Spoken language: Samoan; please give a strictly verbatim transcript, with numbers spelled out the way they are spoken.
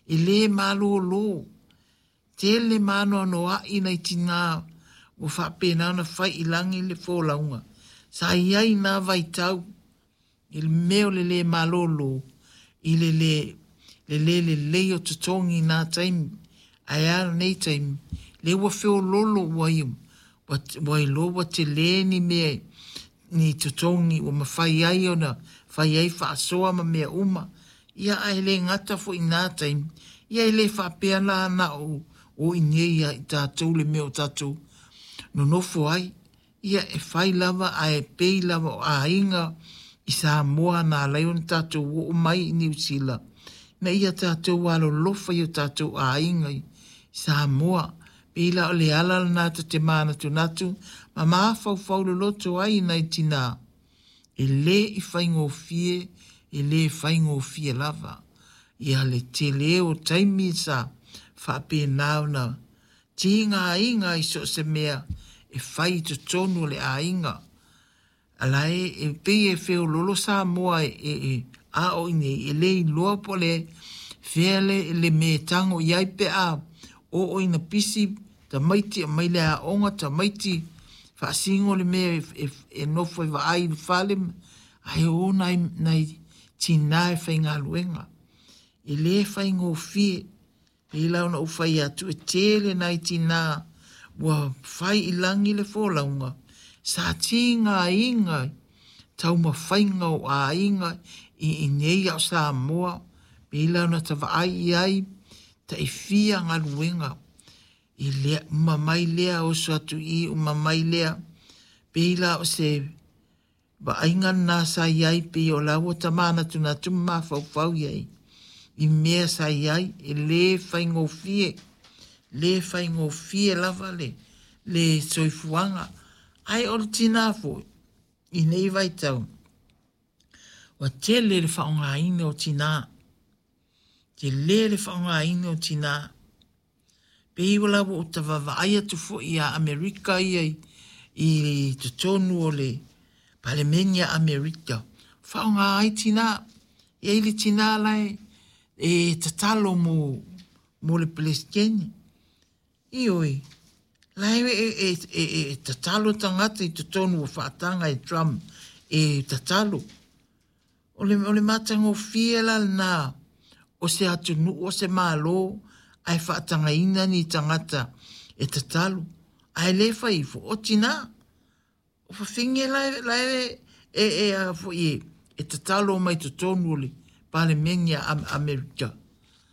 E lē malōlō, tele ma anoanoa'i nai tinā ua faapena ona fai i lagi le folauga sa i ai i na vaitau i le mea o le lē malōlō i le lē le lē lelei o totogi i na taimi. Ae a lenei taimi? Lea ua feoloolo ua ua iloa ua telē ni mea ni totogi ua mafai ai ona fai ai faasoa ma mea uma. Ia ae le gata foi i na taimi, ia e le faapea la na o o i inei ia i tatou le mea o tatou nonofo ai. Ia e fai lava ae pei lava o aiga i Samoa na ala ai ona tatou oo mai i Niu Sila, ina ia tatou alolofa i o tatou aiga i Samoa. Pei la o le ala lena ta te manatunatu ma mafaufau loloto ai nai tinā, e lē i faigofie, e lē faigofie lava. Ia le telē o taimi sa faapena ona tigaina ai i so o se mea e fai i totonu o le aiga. A la e e pei e feoloolo Samoa e e a o i inei e le iloa po o le fea le, le mea e tago i ai pe a oo ina pisi tamaiti aumai le aoga, tamaiti faasino le mea e, e, e nofo e vaai i le fale, ae o nai, nai tinā e faigaluega. E lē faigofie. Pei la ona ou fai atu e tele nai tinā ua fai i lagi le folauga sa tigaina taumafaiga o aiga i inei a o Samoa. Pei la ona ta vaai i ai taifia galuega i lea uma mai lea oso atu i i uma mai lea. Pei la o se vaaiga lena sa i ai pei o la ua ta manatunatu ma mafaufau i ai i mea sa i ai e lē faigofie, lē faigofie lava le le soifuaga. Ae o le tinā foi i nei vaitau ua tele le faaaogaina o tinā, telē le faaaogaina o tinā. Pei la ua ou vaavaai atu foi ia Amerika ia i, i totonu o le Palemene a Amerika, faaaoga ai tinā. E i ai le tinā la e, e tatalo mo, mo le Peresetene. Ioe, la e, e, e, e tatalo tagata i totonu ua faataga e Trump e tatalo. O le, o le matagofie la lena o se atunuu o se Malo ae faatagaina ni tagata e tatalo. Ae lē fai ifo o tinā. O fafine la e, la e, e, e, a foi e, e tatalo mai totonu o le Palemene a Amerika.